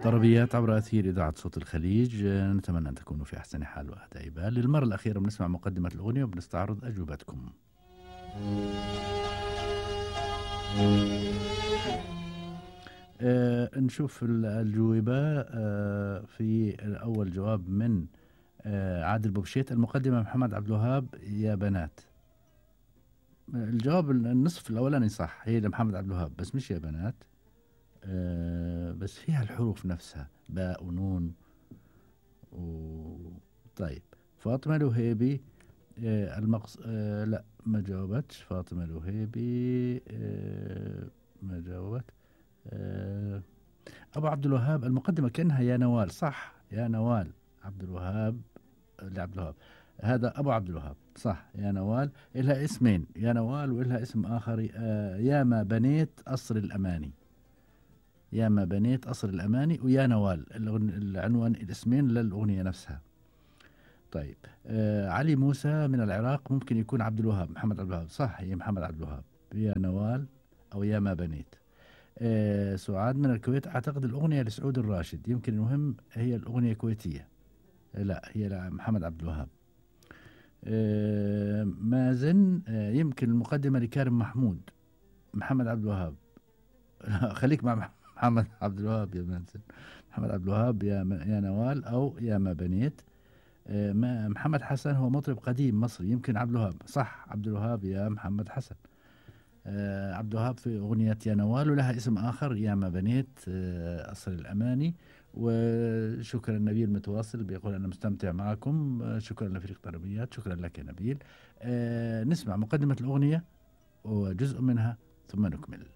طربيات عبر أثير إذاعة صوت الخليج. نتمنى أن تكونوا في أحسن حال وأهدى بال. للمرة الأخيرة بنسمع مقدمة الأغنية وبنستعرض أجوبتكم. نشوف الأجوبة. في أول جواب من عادل بوبشيت. المقدمة محمد عبد الوهاب يا بنات. الجواب النصف الأولاني صح، هي لمحمد عبد الوهاب بس مش يا بنات. بس فيها الحروف نفسها باء ونون طيب. فاطمة الوهيبي لا ما جاوبتش. فاطمة الوهيبي ما جاوبت. أبو عبد الوهاب المقدمة كأنها يا نوال. صح يا نوال عبد الوهاب لعبد الوهاب. هذا أبو عبد الوهاب صح. يا نوال إلها اسمين، يا نوال وإلها اسم آخر. يا ما بنيت أصر الأماني. يا ما بنيت أصر الأماني ويا نوال العنوان الاسمين للأغنية نفسها. طيب علي موسى من العراق ممكن يكون عبد الوهاب محمد عبد الوهاب. صح هي محمد عبد الوهاب يا نوال أو يا ما بنيت. سعاد من الكويت أعتقد الأغنية لسعود الراشد، يمكن المهم هي الأغنية كويتية. لا هي محمد عبد الوهاب. مازن يمكن المقدمة لكارم محمود محمد عبد الوهاب. خليك مع محمد عبد الوهاب يا مازن. محمد عبد الوهاب يا نوال أو يا ما بنيت. محمد حسن هو مطرب قديم مصري، يمكن عبد الوهاب. صح عبد الوهاب يا محمد حسن. عبد الوهاب في أغنية يا نوال ولها اسم آخر يا ما بنيت أصل الأماني. وشكرا نبيل متواصل بيقول أنا مستمتع معكم. شكرا لفريق طربيات. شكرا لك يا نبيل. نسمع مقدمة الأغنية وجزء منها ثم نكمل.